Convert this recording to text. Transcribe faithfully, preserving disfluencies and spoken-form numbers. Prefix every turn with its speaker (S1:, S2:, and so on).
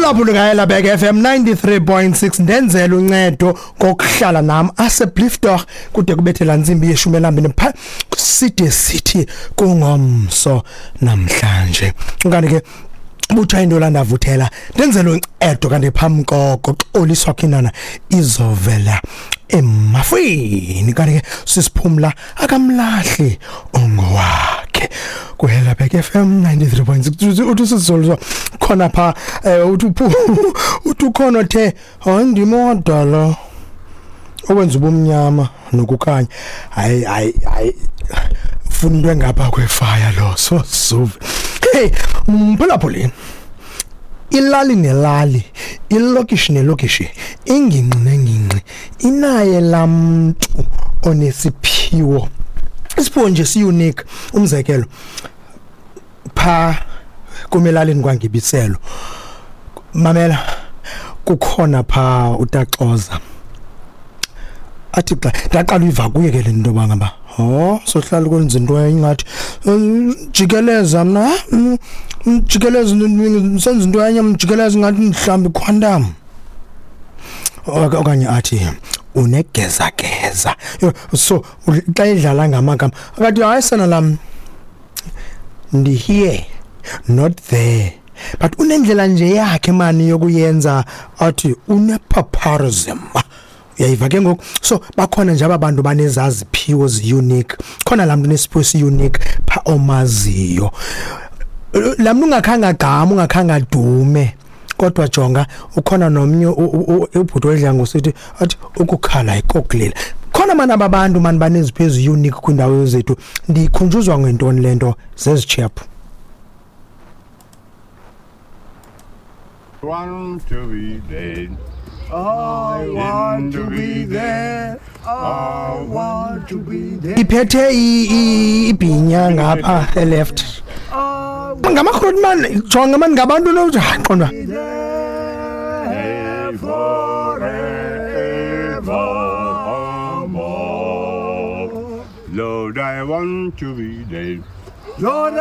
S1: Mphulaphuli kaHelabek F M ninety-three point six, ndenzela uncedo kokuhlala nam asseblief kude kubethela ntsimbi yeshumi elambini pha side sithi kungomso namhlanje. Kanti ke butha into landavuthela ndenzela uncedo kanti phambi koko xoliswa khinana izovela emafini. Kanti ke sisiphumla akamlahli ongowakhe kuHelabek F M ninety-three point six. Uthi sizolwa khona pha uthi uthi ukhona the andimodala owenza ubumnyama nokukhanya. Hayi hayi hayi funa into engapha kwefire lo so so hey mphulaphuli, ilali nelali, ilokishi nelokishi, ingingqi nengingqi inaye lamntu onesiphiwo. Isiphiwo nje si unique. Umzekelo pha kumelalini kwaNgibiselo, mamela, kukhona pha utaxoza athi xa ndaqala uyiva kuye ke le nto bangaba oh sohlala kwenza into engathi jikeleza mna jikeleza senza into enye mjikeleza ngathi mhlawumbi quantum, okanye athi unegeza geza. So xa idlala ngamagama akathi hayi sana lam ndi here not there, but unendlela nje yakhe mani yokuyenza athi unepaparism. Uyayiva ke ngoku. So bakhona nje abantu banezaziphiwo zi-unique. Khona laa mntu unesiphiwo si-unique pha omaziyo, laa mntu ungakhange agqame, ungakhange adume, kodwa jonga ukhona nomnye ubhuti wedla ngosithi athi ukukhala ikokulela. Khona mani aba bantu mani baneziphiwo ezi-unique kwiindawo zethu. Ndikhunjuzwa ngentoni le nto zezitshepu.
S2: Want to be dead.
S3: I want to be there. I want to be there.
S1: Iphethe ibhinya ngapha e-left. Ngamakroti man, jonga man ngabantu no qondwa.
S2: Lord, I want to be there.
S3: Lord,